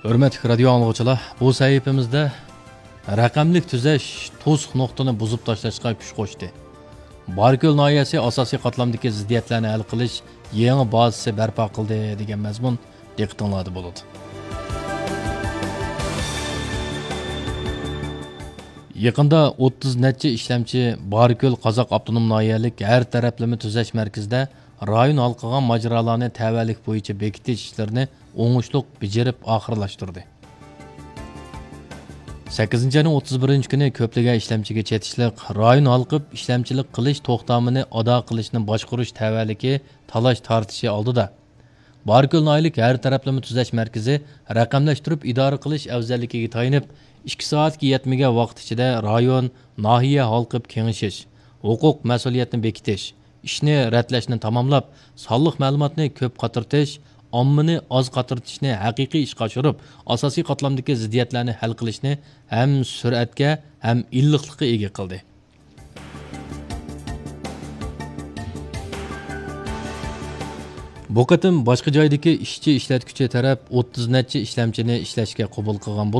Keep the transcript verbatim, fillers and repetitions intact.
ھۆرمەتلىك رادىيو ئاڭلىغۇچىلار، بۇ سەھىپىمىزدە رەقەملىك تۈزەش توسۇق نۇقتىنى بۇزۇپ تاشلاشقا كۈچ قوشتى. باركۆل ناھىيەسى ئاساسىي قاتلامدىكى زىددىيەتلەرنى ھەل قىلىش يېڭى بازىسى بەرپا قىلدى دېگەن مەزمۇن دىققىتىڭلاردا بولىدۇ. يېقىندا ئوتتۇز نەچچە ئىشلەمچى باركۆل قازاق ئاپتونوم ناھىيەلىك ھەر تەرەپلىمە تۈزەش مەركىزىدە رايون ھال قىلغان ماجىرالارنى تەۋەلىك بويىچە بېكىتىش ئىشلىرىنى ئوڭۇشلۇق بېجىرىپ ئاخىرلاشتۇردى. سەككىزىنچى ئاينىڭ ئوتتۇز بىرىنچى كۈنى كۆپلىگەن ئىشلەمچىگە چېتىشلىق رايون ھالقىپ ئىشلەمچىلىك قىلىش توختامىنى ئادا قىلىشنى باشقۇرۇش تەۋەلىكى تالاش تارتىشى ئالدىدا، باركۆل ناھىيەلىك ھەر تەرەپلىمە تۈزەش مەركىزى رەقەملەشتۈرۈپ ئىدارە قىلىش ئەۋزەللىكىگە تايىنىپ، ئىككى سائەتكە يەتمىگەن ۋاقىت ئىچىدە رايون، ناھىيە ھالقىپ كېڭىشىش، ھوقۇق مەسئۇلىيەتنى بېكىتىش، ئىشنى رەتلەشنى تاماملاپ، سانلىق مەلۇماتنى كۆپ قاترىتىش، ئاممىنى ئاز قاترىتىشنى ھەقىقىي ئىشقا ئاشۇرۇپ، ئاساسىي قاتلامدىكى زىددىيەتلەرنى ھەل قىلىشنى ھەم سۈرئەتكە، ھەم ئىللىقلىققا ئىگە قىلدى. بۇ قېتىم باشقا جايدىكى ئىشچى ئىشلەتكۈچى تەرەپ ئوتتۇز نەچچە ئىشلەمچىنى ئىشلەشكە قوبۇل قىلغان بولۇپ،